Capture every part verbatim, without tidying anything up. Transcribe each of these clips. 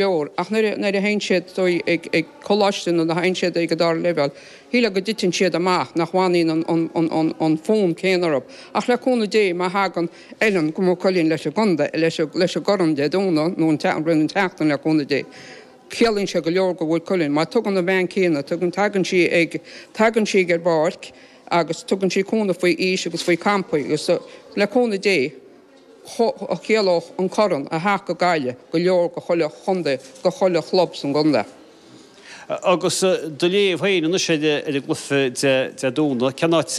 leor, ach nuair a théann siad ag ag coláiste nó a théann siad ag an dara leibhéal, shílfeá go dtiteann siad amach, nach bhfanann an an an an fonn céanna orthu. Ach le cúnamh Dé, má thagann Ellen go Maigh Cuilinn leis an gcontae, leis leis an gcorn Dé Domhnaigh nó an roimh an tseachtain le cúnamh Dé, ciallaíonn sé go leor go Mhaigh Cuilinn. Má tugann an bhean céanna, tugann tagann sí ag tagann sí ar bpáirc agus tugann sí cúnamh faoi aois agus faoi campaí agus le cúnamh Dé, chiallódh an corn a theacht go Gaillimh go leor go chuile chontae, go chuile chlub san gcontae. Agus do léamh féin anois ar an gcluiche Dé Domhnaigh, cén áit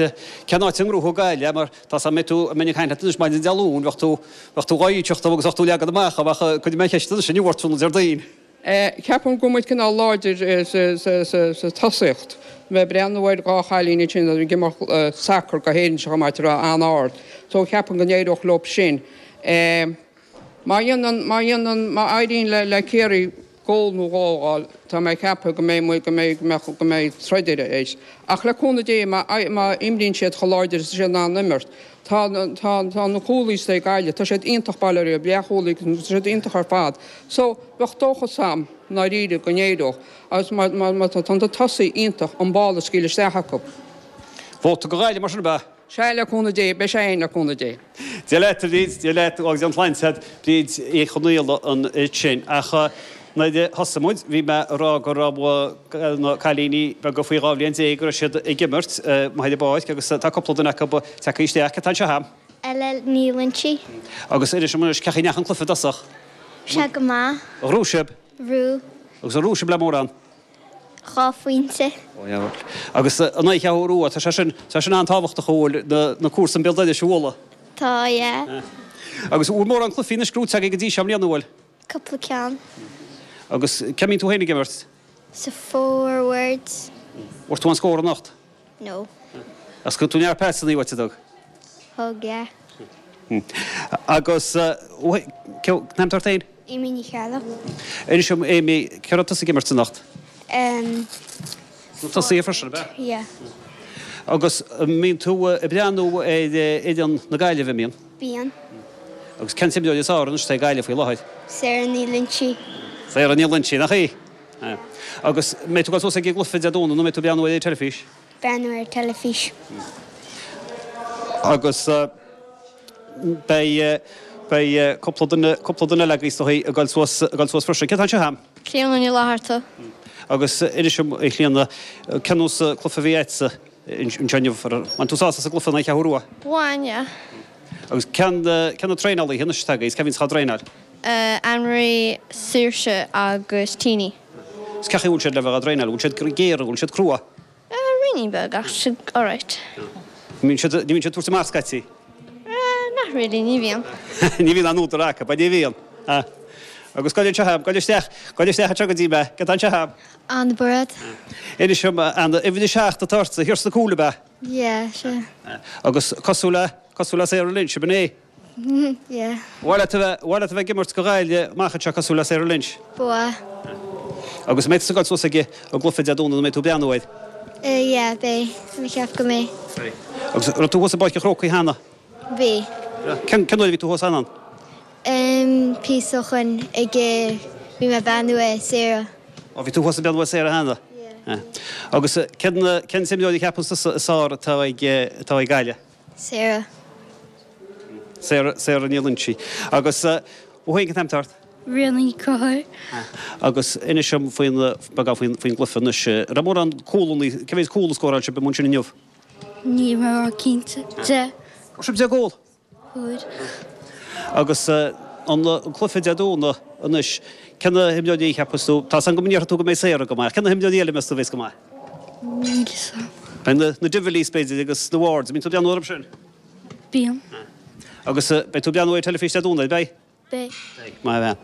cén áit a ngnóthóidh Gaillimh mar tá 's agam mbeidh tú a mbeinn ag caint leat anois maidin Dé Luain bheadh tú bheadh tú dhá íocaíocht agus bheadh tú leagan amach ach cuirfidh mé an cheist anois inniu ort tráthnóna Déardaoin. Ceapaim go bhfuil muid cineál láidir sa tosaíocht. Bheith breathnú ar dhá chailín ansin a ag imirt sacar go hÉirinn seo chomh maith atá an-ard. So ceapaim go n-éireodh leo sin. Má dhéanann má dhéanann má éiríonn le le Ciarraí gól nó dhó a fháil, tá mé ag ceapadh go mbeidh muid go mbeidh go mbeadh go mbeidh troid ar ais. Ach le cúnamh Dé má má imríonn siad chomh láidir is siad in ann imirt, tá tá tá na cúlaí ag Gaillimh, tá siad iontach bail ó Dhia, leathchúlaí, tá siad iontach ar fad. So bheadh dóchas a'm ndáiríre go n-éireodh agus má má má tá na tosaí iontach an ball a scaoileadh isteach acu. Vóta go Gaillimh mar sin ab ea? Sea le cúnamh Dé, beidh sé fhéin le cúnamh Dé. Dia leat a Bhríd, Dia leat agus an tsláinte agat, Bríd Uí Chonaola ansin. Ach nuair a thosaigh muid, bhí mé ag rá go raibh na cailíní beaga faoi dhá bhliain déag go raibh siad ag imirt amuigh ar an bpáirc agus tá cúpla duine acu tagtha isteach. Cé atá anseo a'm? Ella Ní Loinsigh. Agus inis dom anois, cén chaoi a ndeachaigh an cluiche i dtosach? Sé go maith. Ar ghnóthaigh sibh? Bhuaigh. Agus ar ghnóthaigh sibh le mórán? Dhá phointe. Ó yeah bhuel. Agus an oíche a rua, tá sé sin, tá sé sin an-tábhachtach a bhfuil na, na cúrsaí an béal dorais a bhualadh. Tá, yeah. Agus bhfuil mórán cluichí anois gnóthaithe agaibh go dtí seo i mbliana, bhfuil? Cúpla ceann. Agus cá mbíonn tú féin ag imirt? Sa forwards. Bhfuair tú aon scór anocht? No. Agus thug tú neart pasanna uait, an dtug? Thug, yeah. Agus, cén t-ainm atá ort féin? Amy Ní Cheallaigh. Inis dom, Amy, cá raibh tusa ag imirt anocht? Um, Tosaí freisin, ab ea? Yeah. Agus an mbíonn tú ag breathnú ar fhoireann na Gaillimhe, an mbíonn? Bíonn. Agus cén t-imreoir is fearr anois atá ag Gaillimh faoi láthair? Sarah Ní Loinsigh. Sarah Ní Loinsigh, nach í? Agus an mbeidh tú ag dul suas ag an gcluiche Dé Domhnaigh nó an mbeidh tú ag breathnú ar an teilifís? Breathnú ar teilifís. Agus beidh beidh cúpla duine cúpla duine eile agaibh is dóigh ag dul suas ag dul suas freisin. Cé atá anseo a'm? Clíona Ní Fhlatharta. Agus inis dom, a Chlíona, cén nós cluiche a bhí agatsa anseo inniu? Bhain tú sásamh as an gcluiche in aghaidh Cheathrú Rua? Bhain, yeah. Agus cén cé na traenálaithe anois atá agaibh? Cé a bhíonns á dtraenáil? Anne-Marie, Saoirse agus Teenie. Is cén chaoi a bhfuil siad le bheith á dtraenáil? Bhfuil siad géar, bhfuil siad crua? Ruainnín beag ach siad alright. Ní bhíonn siad, ní bhíonn siad ag tabhairt amach scaití? Not really, ní bhíonn. Ní bhíonn an údar acu, ní bhíonn. Agus gabh anseo a'm, gabh isteach, gabh isteach anseo go dtí mé, cé atá anseo a'm? Anna Bairéad. Inis dom, Anna, uimhir a seacht atá ortsa, thiar sna cúil ab ea? Yeah, sea. Agus cosúil le, cosúil le Sarah Lynch, ab in é? Yeah. Ba mhaith leat a bheith, ba mhaith leat a bheith ag imirt do Ghaillimh amach anseo cosúil le Sarah Lynch? Ba mhaith. Agus an mbeidh tusa ag dul suas ag an gcluiche Dé Domhnaigh nó an mbeidh tú ag breathnú air? Eh yeah, beidh. Tá mé ag ceapadh go mbeidh. Beidh. Agus an raibh tú thuas i bPáirc an Chrócaigh cheana? Bhí. Cén, cén uair a bhí tú thuas ann? Em, píosa ó shoin ag eh, bhí mé ag breathnú ar Sarah. Ó, bhí tú thuas ag breathnú ar Sarah cheana? Yeah. Agus cén, cén t-imreoir a cheapann tusa is fearr atá ag, atá ag Gaillimh? Sarah. Sarah, Sarah Ní Loinsigh. Agus thú féin cén t-ainm atá ort? Ríona Ní Conchúir. Agus inis dom faoin, beagán faoin, faoin gcluiche anois. An raibh mórán cúlanna, cé mhéad cúl a scóráil sibh amuigh ansin inniu? Níl mé ró-chinnte. Deich. Fuair sibh deich gcúl? Fuair. Agus an cluiche Dé Domhnaigh anois, cé na himreoirí a cheapas tú, tá 's agam go ndéarfaidh tú go mbeidh Sarah go maith, cé na himreoirí eile a meas tú a bheas go maith? Níl 'fhios a'm. Beidh na, na Divilys b'fhéidir agus na Wards, an mbíonn tú ag breathnú orthu sin? Bíonn. Agus beidh tú ag breathnú ar teilifís Dé Domhnaigh, beidh? Beidh. Beidh, maith a bhean.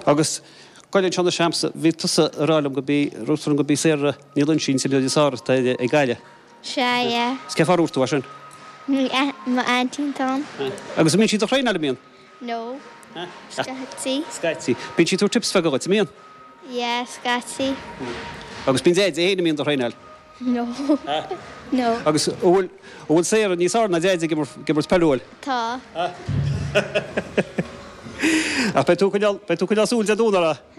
Agus gabh anseo anois a'msa, bhí tusa ag rá liom go bí, dúirt tú liom go bí Sarah Ní Loinsigh an t-imreoir is fearr atá ag Gaillimh. Sea, yeah. Is cén fáth ar dhúirt tú é sin? M'aintín atá ann. Agus an mbíonn sí do thraenáil, an mbíonn? No. Scaití. Scaití. Bíonn sí ag tabhairt tips bheaga dhuit, an mbíonn? Yeah, scaití. Agus bíonn Deaide féin, an mbíonn do thraenáil? No. No. Agus an bhfuil, an bhfuil Sarah níos fearr ná Deaide ag imirt peile, an bhfuil? Tá. Ach beidh tú ag coinneáil, beidh tú ag coinneáil súil Dé Domhnaigh uirthi?